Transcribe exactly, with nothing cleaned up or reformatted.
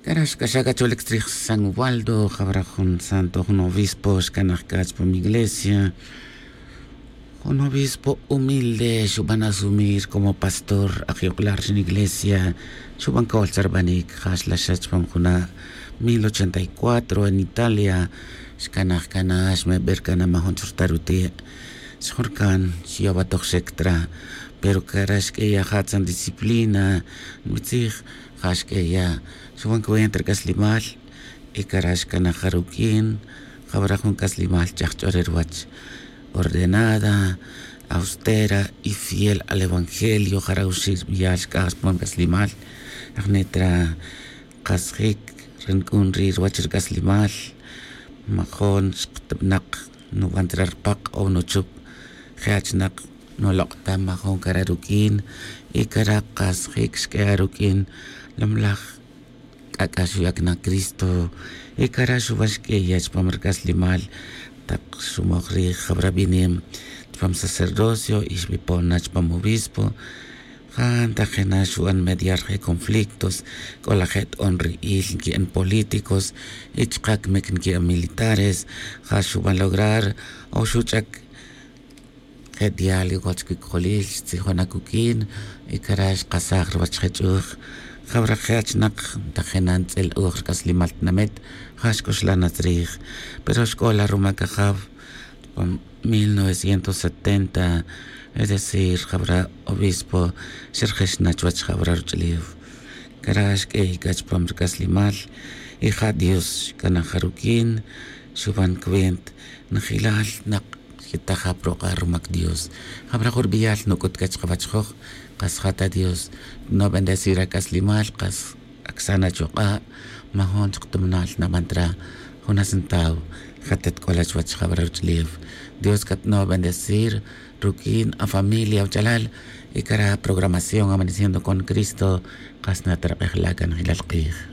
Cara' xc'axa' c'a cholic chrij san waldo jawra jun santo jun obispo xcanaj c'a chupam iglesia. Jun obispo humilde xuban asumir como pastor ajyok'lal ri iglesia. Xuban col charbanic ja xlaxa chupam juna' mil ochenta y cuatro en italia. Xcanaj c'a na xmeber c'a na majun churta' ruti'. Xjun rcan xyawatojxec tra. Pero cara' xq'ueya' jatzan disciplina nbitzij. Ja xq'ueya' xuban cuenta ri c'aslimal. Y cara' xcanaj ja ruq'uin jawra jun c'aslimal ch'aj ch'ore ruwach. Ordenada, austera y fiel al evangelio jara' uxi' rbiyal xc'aj chupam c'aslimal. Ajni' tra kasjic ri nc'un ri ruwach ri c'aslimal. Majon xktabnak nuban ta ra rpak o nuchup. Je' achnak nulok' ta majon cara' ruq'uin. Y cara' kasjic xq'ueya' ruq'uin. Lamlaj c'ac'a' xuyac na cristo. Y cara' xuban xq'ueya' chupam ri c'aslimal tak xumoj rij jawra binem chupam sacerdocio y xbipon na chupam obispo. Ja ntajina xuban mediar je conflictos c'o laje t'on ri il nqui'an políticos. Y chaka' cmic nqui'an militares. Ja xuban lograr o xuch'ac je diálogo chic cojolil xtzijon acuq'uin. Y cara' xkasaj ruwach je ch'uj. Jawra je achnak ntajina ntz'il uj ri c'aslimal tinamet. Ja xc'uxlan na tzrij. Pero xc'ola rumac ajaw chupam mil novecientos setenta. Es decir jawra obispo xerjix na chuwach jawra ruch'ulew. Cara' xq'uey c'a chupam ri c'aslimal. Y ja dios xc'anaj ja ruq'uin. Xuban cuenta najilal nak xquitaja' pa ruk'a' rumac dios. Jabra' jun rbiyal nuc'ut c'a chkawach joj. Kas ja ta dios no bendecir ac'aslimal kas acsan achuk'a'. Majun chuk tuminal naban tra jun acentaw. Ja ta tk'ola chuwach jabra' ruch'ulew. Dios c'a tno bendecir ruq'uin afamilia awachalal. Y cara' programación amaneciendo con cristo. Kas na ta rak'ejla' c'a najilal k'ij.